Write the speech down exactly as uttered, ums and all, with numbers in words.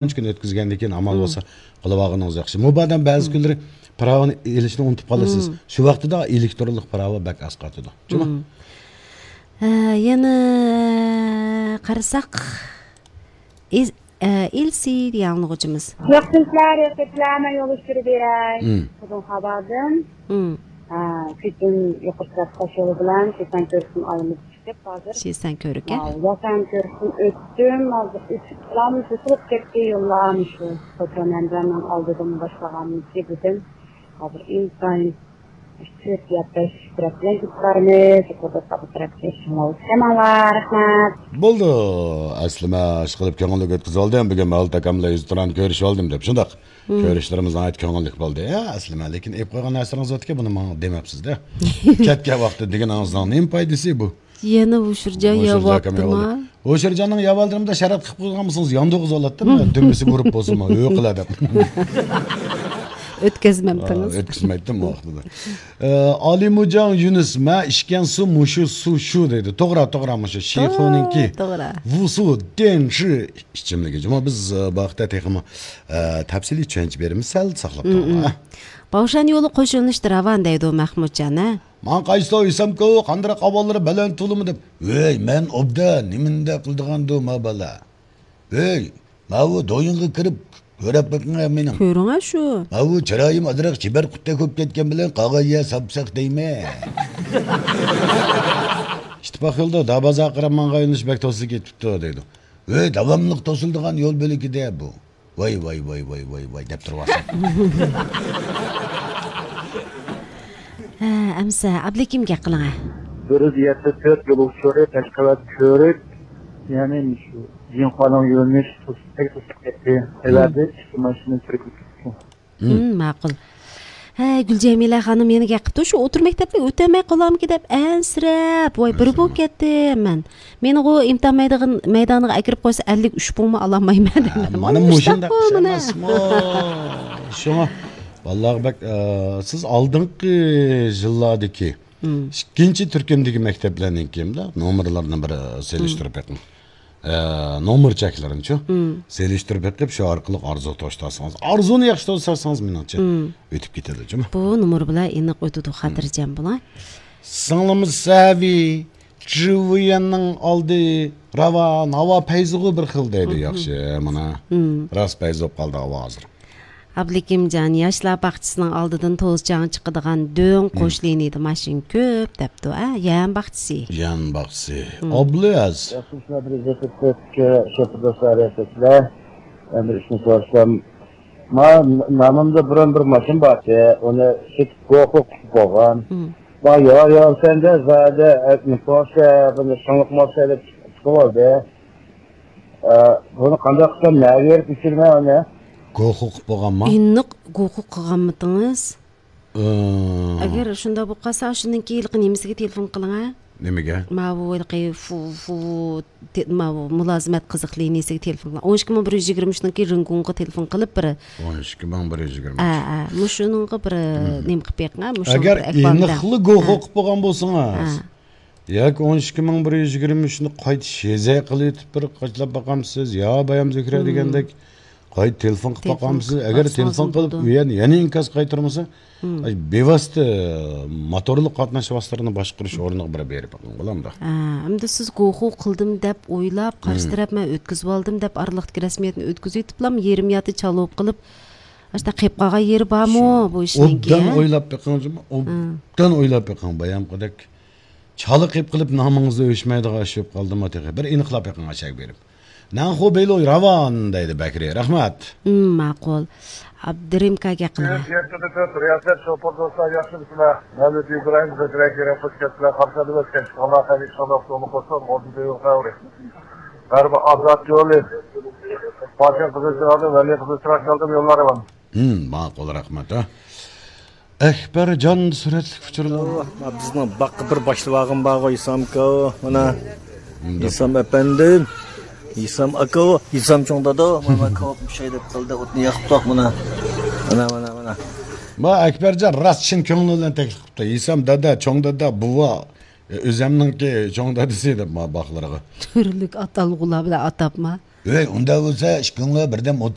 ئۈچ كۈن ئۆتكۈزگەندىن كېيىن ئامال بولسا قىلىۋالغىنىڭىز ياخشى. مۇبادا بەزى كۈنلىرى پىراۋىنى ئېلىشنى ئۇنتۇپ قالىسىز. شۇ ۋاقتىدا ئېلېكترونلۇق پىراۋا بەك ئەسقاتىدۇ. جۇمۇ؟ ھە، يەنە قارىساق، ئىز-، ئە، ئىلسى دېگەن ئاڭلىغۇچىمىز. ياخشىمسىلەر، ياخشىمسىلەر، مەن يولدىشى بېرەي. مم. خوتۇن خابادىن. مم. ھە، كېچىن يۇقىرى تەرەپ تاش يولى بىلەن شىسەن كۆرۈكتىن ئايلىنىپ چىقىپ ھازىر. شىسەن كۆرۈكى. ھە، شىسەن كۆرۈكتىن ئۆتتۈم، ھازىر ئۆتۈپ قالام، توسۇلۇپ كەتتى يوللار، مۇشۇ خوتۇن ھەمزەمنىڭ ئالدىدىن باشلىغان كېبىدىن. ھازىر ئىنتايىن تۆت يا بەش تەرەپ بىلەن كېتىپ بارىمىز. يۇقىرىدا تاغ تەرەپكە شۇڭا ئۆتۈشەمەڭلار. رەھمەت. بولدى. ئەسلىمە ئىشقىلىپ كۆڭۈللۈك ئۆتكۈزۈۋالدىم. بۈگۈن مەۋلۇت ئاكام بىلەن يۈزتۇرانە كۆرۈشۈۋالدىم دەپ. شۇنداق. كۆرۈشلىرىمىز ناھايىتى كۆڭۈللۈك بولدى. يا، ئەسلىمە، لېكىن ئېلىپ قويغان نەرسىلىرىڭىز باركەن، بۇنى ماڭا دېمەپسىز-دە. كەتكەن ۋاقىتتا دېگىنىڭىزنىڭ نېمە پايدىسى بۇ؟ يەنە ھوشۇرجان يەۋاپتىما؟ ھوشۇرجاننىڭ يەۋالدىرىمدا شەرەت قىلىپ قويغانمىسىڭىز، ياندۇغىز بولاتتى. دۈمبىسى بۇرۇپ بولسىمۇ، ھۆ قىلا دەپ. ئۆتكەزمەمتىڭىز؟ ئا، ئۆتكۈزمەيتتىم ئۇ ۋاقتىدا. ئە، ئالىمۇجاڭ يۈنۈس، مە ئىچكەن سۇ مۇشۇ سۇ شۇ دەيدۇ. توغرا، توغرا، مۇشۇ شىخۇنىڭكى. توغرا. ۋۇسۇ دېنشى ئىچىملىكى. جۇمۇ بىز، ئە، بۇ ھەقتە تېخىمۇ، ئە، تەپسىلىي چۈشەنچە بېرىمىز. سەل ساقلاپ تۇرۇڭلار. باۋشان يولى قوش يۆنىلىشتە راۋان دەيدۇ مەخمۇتجان، ھە؟ ماڭا قايسىلەر ئۆيسەمكۇ، قانداق ئاۋازلىرى بەلەن تولىمۇ دەپ. ۋەي، مەن ئوبدان، نېمىندە قىلىدىغاندۇ ما بالا؟ ۋەي، ماۋۇ دويۇنغا كىرىپ كۆرۈپ بېقىڭە مېنىڭ. كۆرۈڭە شۇ. ماۋۇ چىرايىم ئازراق چىبەر قۇتتەك بولۇپ كەتكەن بىلەن قالغان يەر ساپساق دەيمەن. ئىتتىپاق يولدا دابازا قاراپ ماڭغان يۆنىلىش بەك توسۇلۇپ كېتىپتۇ دەيدۇ. ۋەي، داۋاملىق توسۇلىدىغان يول بۆلىكىدە بۇ. ۋاي، ۋاي، ۋاي، ۋاي، ۋاي، ۋاي دەپ تۇرۇۋالسا. ھە، ئەمسە ئابلىكىم گەپ قىلىڭە. بىر يۈز يەتتە تۆت يول ئۇچۇرى، پەشقەۋەت كۆرۈك. يەنى شۇ جىڭخۇانىڭ يۆنىلىشى توسۇپ، توسۇپ كەتتى. ئەۋەتتى، ئىككى ماشىنا چىرىكلىشىپ كەتتى. مم، ماقۇل. ھە، گۈلجەمىلە خانىم يەنە گەپ قىپتۇ، شۇ ئوتتۇرا مەكتەپلىك ئۆتەلمەي قالامكى دەپ ئەنسىرەپ، ۋاي، بىر بولۇپ كەتتىم مەن. مېنىغۇ ئىمتىھان مەيدىغىن-، مەيدانىغا ئەكىرىپ قويسا، ئەللىك ئۈچ پۇڭمۇ ئالالمايمەن دەپ. ھە، مانا مۇشۇنداق ئىش ئەمەسمۇ؟ شۇڭا بالىلارغا بەك، ئە، سىز ئالدىنقى يىللاردىكى ئىككىنچى تۈركۈمدىكى مەكتەپلەرنىڭكى نومۇرلىرىنى بىر سېلىشتۇرۇپ بېقىڭ. ئە، نومۇر چەكلىرىنىچۇ؟ سېلىشتۇرۇپ بېقىپ، شۇ ئارقىلىق ئارزۇ توشتۇرسىڭىز، ئارزۇنى ياخشى توشتۇرسىڭىز، مېنىڭچە ئۆتۈپ كېتىدۇ، جۇمۇ. بۇ نومۇر بىلەن ئېنىق ئۆتىدۇ، خاتىرجەم بولۇڭ. سىڭلىمىز سەۋى، جىۋيەننىڭ ئالدى، راۋان، ھاۋا پەيزىغۇ بىر خىل دەيدۇ، ياخشى، مانا. راست پەيز بولۇپ قالدى ھاۋا ھازىر. ئابلىكىمجان، ياشلار باغچىسىنىڭ ئالدىدىن توزچاڭ چىقىدىغان دۆڭ قوش لىنىيىدە ماشىنا كۆپ دەپتۇ، ئە، يەم باغچىسى. يەم باغچىسى. ئابلىياز. ياخشىمۇ، بىر ئىززەتلىك شوپۇر دوستلار، ياخشىمۇسىلەر؟ بىر ئىشنى سورىسام، ما، نامىمدا بۇرۇن بىر ماشىنا بارتى، ئۇنى سېتىپ گوخۇ قىلىپ بولغان. ما، يار، يار، سەندە زادە، پورشە، بۇنى شۇڭلۇق ماشىنا دەپ چىقىپ بولدى. ئە، بۇنى قانداق قىلسام، نەگە بېرىپ ئۆچۈرىمەن ئۇنى؟ گوخۇ قىلىپ بولغانما؟ ئېنىق گوخۇ قىلغانمىدىڭىز؟ ئە. ئەگەر شۇنداق بولۇپ قالسا، شۇنىڭكى ھېلىقى نېمىسىگە تېلېفون قىلىڭە. نېمىگە؟ ماۋۇ ھېلىقى فۇ، فۇ، تې-، ماۋۇ مۇلازىمەت قىزىق لىنىيىسىگە تېلېفون قىلىڭ. ئون ئىككى مىڭ بىر يۈز يىگىرمە ئۈچنىڭكى رىڭگۇڭغا تېلېفون قىلىپ بىر. ئون ئىككى مىڭ بىر يۈز يىگىرمە ئۈچ. ئە، ئە، مۇشۇنىڭغا بىر نېمە قىلىپ بېقىڭە، مۇشۇنىڭغا ئەگەر بىر ئېنىقلا گوخۇ قىلىپ بولغان بولسىڭىز. ئە. ياكى ئون ئىككى مىڭ بىر يۈز يىگىرمە ئۈچنى قايتا شېزە قىلىۋېتىپ بىر قاچىلاپ باقامسىز، يا بايام زۆھرە دېگەندەك قايتا تېلېفون قىلىپ باقامسىز. ئەگەر تېلېفون قىلىپ يەنە، يەنە ئىنكاس قايتۇرمىسا، بىۋاسىتە موتورلۇق قاتناش ۋاسىتىلىرىنى باشقۇرۇش ئورنىغا بىر بېرىپ بېقىڭ، بولامدۇ؟ ھە، ئەمدى سىز گوخۇ قىلدىم دەپ ئويلاپ، قارشى تەرەپ مەن ئۆتكۈزۈۋالدىم دەپ ئارىلىقتىكى رەسمىيەتنى ئۆتكۈزۈۋېتىپلا يېرىم ياتا چالا بولۇپ قېلىپ، ئاشۇنداق قېلىپ قالغان يېرى بارمۇ بۇ ئىشنىڭكى؟ ئوبدان ئويلاپ بېقىڭ، ئوبدان ئويلاپ بېقىڭ، بايامقىدەك. چالا قېلىپ قېلىپ نامىڭىزدا ئۆچمەيدىغان ئىش بولۇپ قالدىمۇ تېخى؟ بىر ئېنىقلاپ بېقىڭ ئاشەگە بېرىپ. نەنخۇ بېيلۇي راۋان دەيدۇ بەكرى. رەھمەت. ھىم، ماقۇل. ئابدۇرېمكا گەپ قىلىڭە. يەتتە تۆت رىياسەت شوپۇر دوستلار، ياخشىمۇسىلەر؟ مەۋلۇت ئىبراھىم، زۆھرە كېرەم، خۇش كەپسىلەر، قارشى ئالدىمىز كەچ قالماي، خەير ئىشلاردا ئۇتۇقلۇق بولسۇن، ئوردى دېۋىر خەۋرى. غەربىي ئازاد يولى، پاكىز قىزىل چىراغدىن، ۋەلى قىزىل چىراغ كەلدىم، يوللار راۋان. ھىم، ماقۇل، رەھمەت، ھە. ئەكبەرجان سۈرەتلىك ئۇچۇرلار. مانا بىزنىڭ باغقا بىر باشلىۋالغان بارغۇ، ھېسامكا، مانا. ھېسام ئەپەندىم، ھېسام ئاكا، ھېسام چوڭ دادا، مانا كاۋاپ مۇشاي دەپ قىلدى، ئوتنى ياقتۇق، مانا. مانا، مانا، مانا. ما ئەكبەرجان راست چىن كۆڭلى بىلەن تەكلىپ قىپتۇ. ھېسام دادا، چوڭ دادا، بوۋا، ئۆزەمنىڭكى چوڭ دادىسى دەپ ما باغلىرىغا. تۈرلۈك ئاتالغۇلار بىلەن ئاتاپما. ۋەي، ئۇنداق بولسا ئىككىڭلار بىردەم ئولتۇرۇپ